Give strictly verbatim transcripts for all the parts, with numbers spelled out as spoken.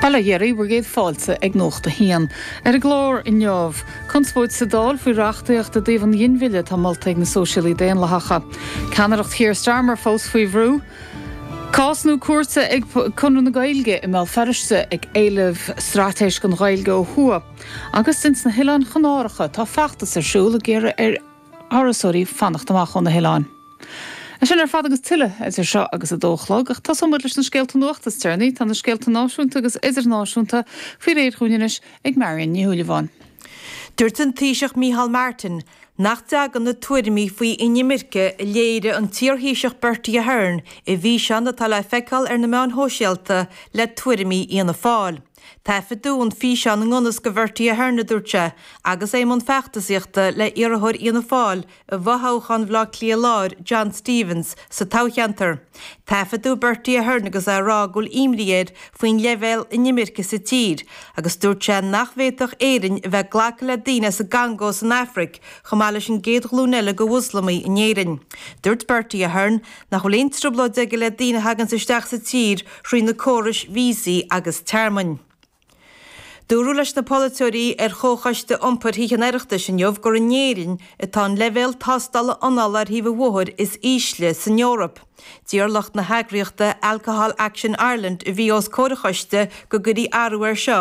Bail ó Dhia oraibh, bhur gcéad fáilte ag Nuacht a hAon. Ar an gclár inniu, conspóid sa Dáil faoi reachtaíocht i dtaobh an ghinmhilleadh atá molta ag na Sóisialaigh Daonlathacha. Ceannaireacht Keir Starmer fós faoi bhrú. Cás nua cúirte ag Conradh na Gaeilge i mBéal Feirste ag éileamh straitéis don Ghaeilge ó thuaidh. Agus ins na hOileáin Chanáracha tá feachtas ar siúl ag iarraidh ar thurasóirí fanacht amach ó na hoileáin. É sin ar fad agus tuilleadh idir seo agus a dó a chlog ach tosóimid leis na scéalta nuachta is deireanaí tá na scéalta náisiúnta agus idirnáisiúnta faoi réir dúinn anois ag Marion Ní Shúilleabháin. Dúirt an Taoiseach Micheál Martin nach dtagann na tuairimí faoi inimirce a léirigh an t-iarThaoiseach Bertie Ahern i bhfíseán atá le feiceáil ar na meáin shóisialta le tuairimí Fhianna Fáil. Taifeadadh an físeán i ngan fhios do Bhertie Ahern a dúirt sé, agus é i mbun feachtasaíochta le iarrthóir Fhianna Fáil i bhfothoghchán Bhaile Átha Cliath Láir, John Stevens, sa toghcheantar. Taifeadadh Bertie Ahern agus é ag rá go bhfuil imní air faoin leibhéal inimirce sa tír, agus dúirt sé nach bhféadfadh Éirinn a bheith ag glacadh le daoine as an gCongó san Afraic, chomh maith leis an gcéad ghlúin eile de Mhoslamaigh in Éirinn. Dúirt Bertie Ahern nach bhfuil aon trioblóid aige le daoine a thagann isteach sa tír thrí na córais víosaí agus tearmainn. Dúradh leis na polaiteoirí ar Chomhchoiste Iompair Thithe an Oireachtais inniu gur in Éirinn atá an leibhéal tástála anála ar thaobh an bhóthair is ísle san Eoraip. D'iarr lucht na heagraíochta Alcohol Action Ireland a bhí os comhair an choiste go gcuirfí athrú air seo,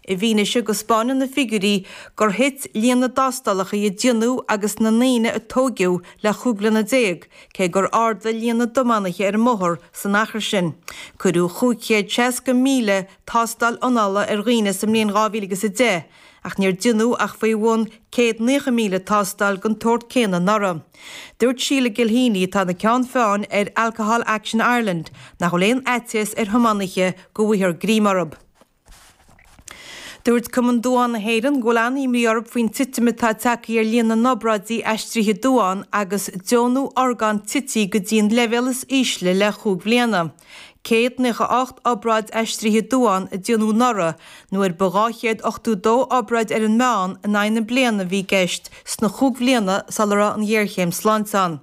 i bhfianaise go spáineann na figiúirí gur thit líon na dtástálacha a déanadh agus na ndaoine a tóigeadh le chúig bliana déag, cé gur ardaigh líon na dtiománaithe ar an mbóthar san achar sin. Cuireadh chúig chéad seasca míle tástáil anála ar dhaoine sa mbliain dhá mhíle agus a deich, ach níor déanadh ach faoi bhun céad naocha míle tástáil den tsórt céanna anuraidh. Dúirt Sheila Gilheany, atá ina ceann feadhain ar Alcohol Action Ireland, nach bhfuil aon fhaitíos ar thiománaithe go bhfaighfear greim orthu. Dúirt Cumann Duán na hÉireann go bhfuil an-imní orthu faoin titim atá tagtha ar líon na n-obráidí aistrithe duán agus deonú orgán tite go dtí an leibhéal is ísle le chúig bhliana. céad naocha ocht obráid aistrithe duán a déanadh anuraidh, nuair ba dhá chéad ochtó dó obráid ar an meán in aghaidh na bliana a bhí i gceist sna chúig bhliana sula raibh an ghéarchéim sláinte ann.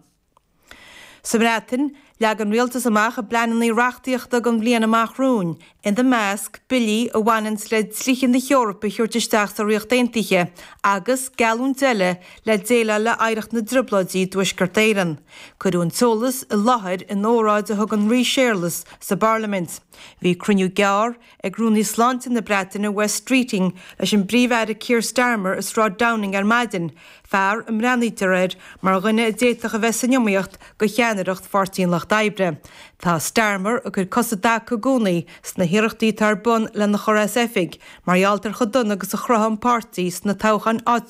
Sa mBreatain, leag an rialtas amach a bpleananna reachtaíochta don bhliain amach romhainn, ina measc, billí a bhaineanns le dlíthe na hEorpa a thabhairt isteach sa Ríocht Aontaithe agus geallúint eile le déileáil le hoidhreacht na dTrioblóidí i dTuaisceart Éireann. Cuireadh an t-eolas i láthair in óráid a thug an Rí Séarlas sa bParlaimint. Bhí cruinniú gearr ag Rúnaí Sláinte na Breataine Wes Streeting leis an bPríomh-Aire Keir Starmer i Sráid Downing ar maidin, fear a mbreathnaítear air mar dhuine a d'fhéadfadh a bheith san iomaíocht do cheannaireacht Pháirtí an Lucht Oibre. Tá Starmer ag cur cos i dtaca i gcónaí sna hiarrachtaí atá ar bun lena chur as oifig mar gheall ar chomh dona agus a chruthaigh an páirtí sna toghcháin áitiúla.